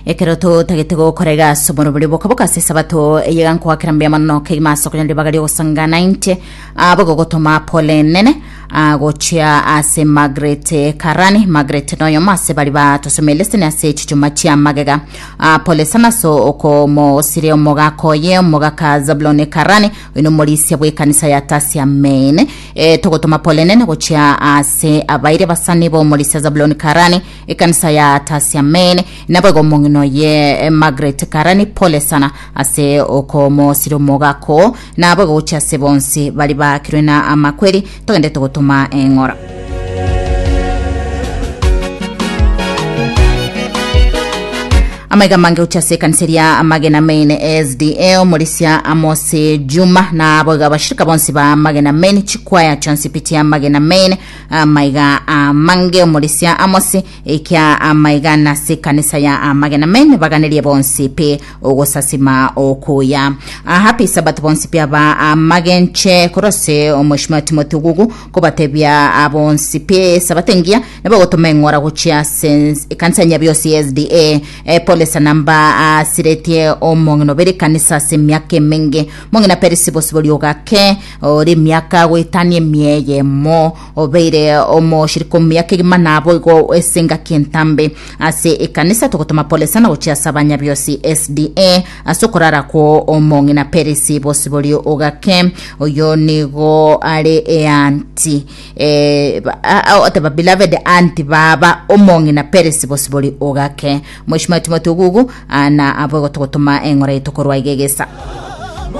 Ekero totagete gokora iga ase omorobori bokaboka ase esabato eye iga nkoakera mbuya mono kegima ase okonyora ribaga riogosangana inche abo gogotoma pole nene ah, gochia ase Margaret Karani. Margaret noyomo ase bari batosomia lesson ase chichuma chia magega. Ah, pole sana ase okomosire omogaka oye omogaka Zabulon Karani oyo nomorisia bw'ekanisa ya Tasia Main. Eh, togotoma pole nene gochia ase abaire basani b'omorisia Zabulon Karani Ekanisa ya Tasiamen, naboigo omong'ina oye Margaret Karani, pole sana ase okomosira omogaka naboigo gochia ase bonsi bari baakirwe na amakweri, togende togotoma eng'ora. Amaiga amange gochia ase ekanisa eria Amagena Main SDA, omorisia Amos Juma, naboigo abashirika bonsi ba Amagena Main, chikwaya chionsi pi chia Amagena Main, Amaiga amange omorisia Amosi, ekia amaiga nase ekanisa ya amagena men baganerie bonsi pi ogosasima okuya. Ah, happy Sabbath bonsi pi aba amagenche korwa ase omweshimiwa Timothy Ogugu kobatebia abonsi pi Sabato engiya nabo gotoma eng'ora gochia ase ekanisa ya Nyabiosi SDA. Eh, pole sana mba asiretie omong'ina obere ekanisa ase emiaka emenge mong'ina Perisi Bosibori ogake Ore emiaka goetania emia eyemo, obeire omoshirika omuya kegima naboigo ase engaki entambe ase ekanisa. Togotoma pole sana gochia ase abanyabiosi SDA ase okorara kwo omong'ina Perisi Bosibori Ogake. Oyo nigo are eanti eh, ba- a- a- oteba beloved aunty baba omong'ina Perisi Bosibori Ogake. Mweshimiwa Timothy Ogugu ah, na aboigo togotoma eng'ora yaito korwa iga egesa.